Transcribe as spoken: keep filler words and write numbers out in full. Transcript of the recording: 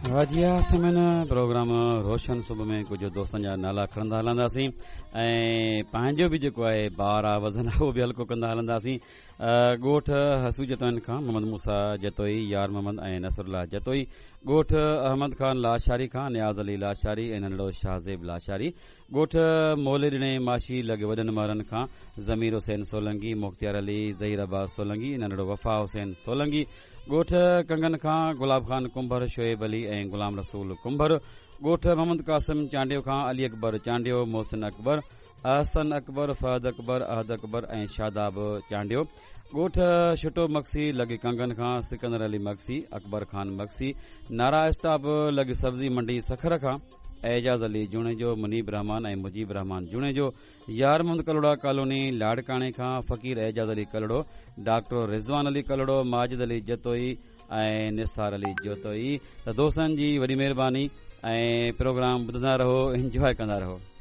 جي ها سامعين، پروگرام روشن صبح ۾ ڪجهه دوستن جا نالا کڻندا هلنداسين ۽ پنهنجو به جيڪو آهي بار آهي، وزن آهي، اهو به هلڪو ڪندا هلنداسين. ڳوٺ حسو جتوئين کان محمد موسيٰ جتوئي، يار محمد ۽ نصر الله جتوئي. ڳوٺ احمد خان لاشاري کان نياز علي لاشاري ۽ ننڍڙو شاهزيب لاشاري. ڳوٺ مولي ڏني ماشي لڳ وڏن مهرن کان ضمير حسين سولنگي، مختيار علي، ظهير عباس سولنگي، ننڍڙو وفا حسين سولنگي. ڳوٺ ڪنگن کان گلاب خان ڪنڀر، شعيب علي ۽ غلام رسول ڪنڀر. ڳوٺ محمد قاسم چانڊيو کان علي اڪبر چانڊيو، محسن اڪبر، احسن اڪبر، فهد اڪبر، احد اڪبر ۽ شاداب چانڊيو. ڳوٺ شٽو مگسي لڳ ڪنگن کان سڪندر علي مگسي، اڪبر خان مگسي. نارا اسٽاپ لڳ سبزي منڊي سکر کان اعجاز علي جوڻيجو، منيب رحمان ۽ مجيب رحمان جوڻيجو. يار محمد ڪلهوڙا ڪالوني لاڙڪاڻي کان فقير اعجاز علي ڪلهوڙو، ڊاڪٽر رضوان علي ڪلهوڙو، ماجد علي جتوئي ۽ نثار علي جتوئي. ته دوستن جي وڏي مهرباني ۽ پروگرام ٻڌندا رهو، انجواء ڪندا رهو.